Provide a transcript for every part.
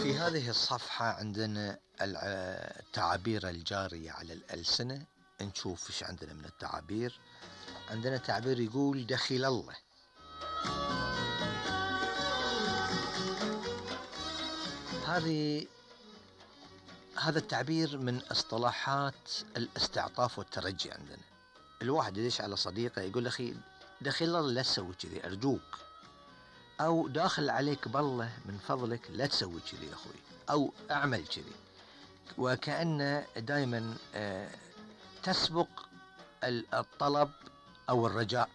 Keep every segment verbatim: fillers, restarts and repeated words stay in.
في هذه الصفحة عندنا التعابير الجارية على الألسنة. نشوف ايش عندنا من التعابير. عندنا تعبير يقول دخيل الله. هذه هذا التعبير من اصطلاحات الاستعطاف والترجي عندنا. الواحد يدش على صديقه يقول اخي دخيل الله لا تسوي كذي ارجوك، او داخل عليك بالله من فضلك لا تسوي كذي يا اخوي، او اعمل كذي، وكأن دائما تسبق الطلب او الرجاء.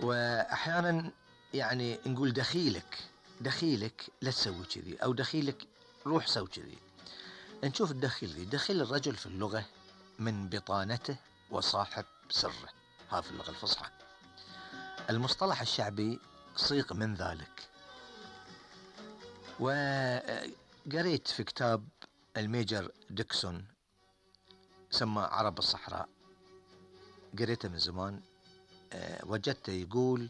واحيانا يعني نقول دخيلك دخيلك لا تسوي كذي، او دخيلك روح سوي كذي. نشوف الدخيل ذي دخيل الرجل في اللغة من بطانته وصاحب سره، هذا في اللغة الفصحى. المصطلح الشعبي صيغ من ذلك. وقريت في كتاب الميجر ديكسون سمى عرب الصحراء، قريته من زمان، وجدته يقول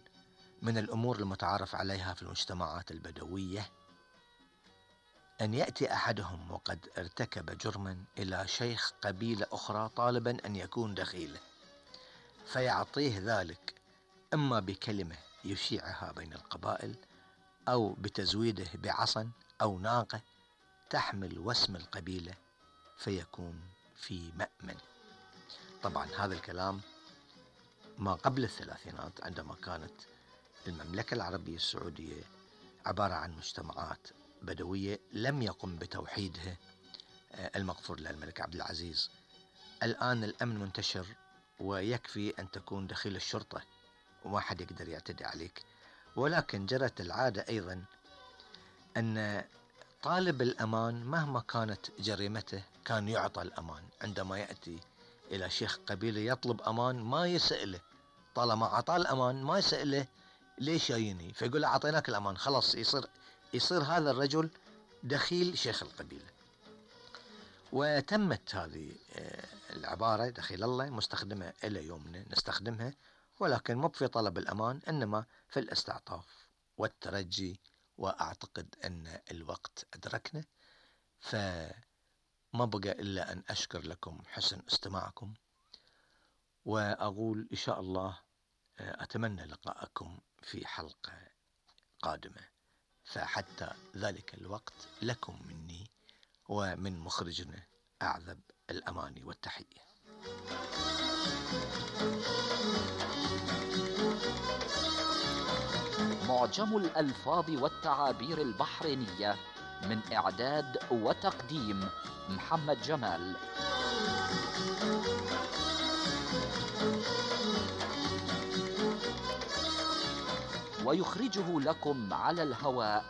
من الأمور المتعارف عليها في المجتمعات البدوية أن يأتي أحدهم وقد ارتكب جرما إلى شيخ قبيلة أخرى طالبا أن يكون دخيله، فيعطيه ذلك إما بكلمة يشيعها بين القبائل، أو بتزويده بعصا أو ناقة تحمل واسم القبيلة فيكون في مأمن. طبعا هذا الكلام ما قبل الثلاثينات، عندما كانت المملكة العربية السعودية عبارة عن مجتمعات بدوية لم يقم بتوحيدها المغفور له الملك عبد العزيز. الآن الأمن منتشر، ويكفي أن تكون دخيل الشرطة وما حد يقدر يعتدي عليك. ولكن جرت العادة أيضا أن طالب الأمان مهما كانت جريمته كان يعطى الأمان. عندما يأتي إلى شيخ قبيلة يطلب أمان ما يسأله، طالما عطاه الأمان ما يسأله ليش جايني، فيقول له أعطيناك الأمان خلاص، يصير يصير هذا الرجل دخيل شيخ القبيلة. وتمت هذه العبارة دخيل الله مستخدمة إلى يومنا نستخدمها، ولكن مو في طلب الأمان، إنما في الاستعطاف والترجي. وأعتقد أن الوقت أدركنا، فما بقى إلا أن أشكر لكم حسن استماعكم، وأقول إن شاء الله أتمنى لقاءكم في حلقة قادمة. فحتى ذلك الوقت لكم مني ومن مخرجنا أعذب الأماني والتحية. معجم الألفاظ والتعابير البحرينية، من إعداد وتقديم محمد جمال. ويخرجه لكم على الهواء